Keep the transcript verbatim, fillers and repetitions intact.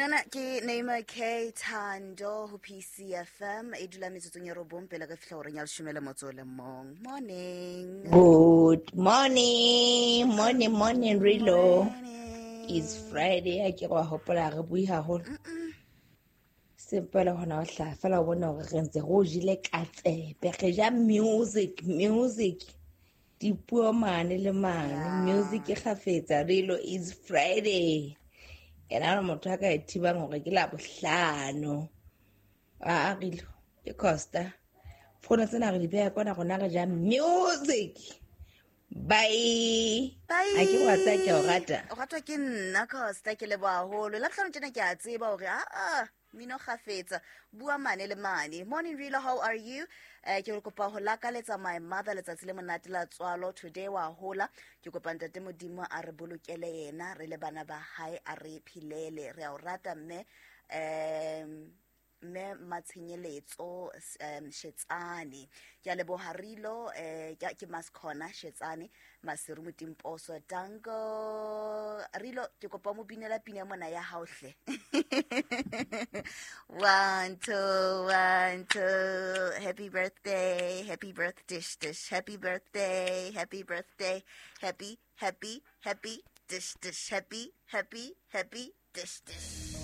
Pinana ke Neymar K Thando ho P C F M e dula metsotsong ya robong pele re fihla horeng ya leshome le motso o le mong. Morning. Good morning. Morning, morning, Rilo. Morning. It's Friday. A ke wa hopola re bui haholo. Simple hona ho hlaha fela o bona hore re ntse re o jele ka tsebe. Re ja music, music. Dipuo mane le mane. Yeah. Music e kgafetsa. Rilo, it's Friday. Ena re motho a ka e thibang hore ke la bohlano. A Rilo, ke Costa. Fono tsena re di beha kwana rona re ja music. Bye. Bye. A ke wa tsaya ke o rata. O ratwa ke nna Costa, ke leboha haholo. La bohlano tjena ke a tseba hore a a mino kgafetsa. Bua mane le mane. Morning Rilo, how are you? Eh, ke kopa ho lakaletsa my mother letsatsi le monate la tswalo. Today wa hola. Ke kopa ntate Modimo a re bolokele yena, re le bana ba hae, a re phelele. Re a o rata mme, em, mme Matshenyeletso, em, Shetsane. Ke a leboha Rilo, eh, ke, ke Maskhona Shetsane, Maseru Motimposo. Danko. Rilo, ke kopa mo binela pina mona ya hao hle. One, two, one, two. Happy birthday, happy birthday, dish, dish. Happy birthday, happy birthday. Happy, happy, happy, dish, dish. Happy, happy, happy, dish, dish.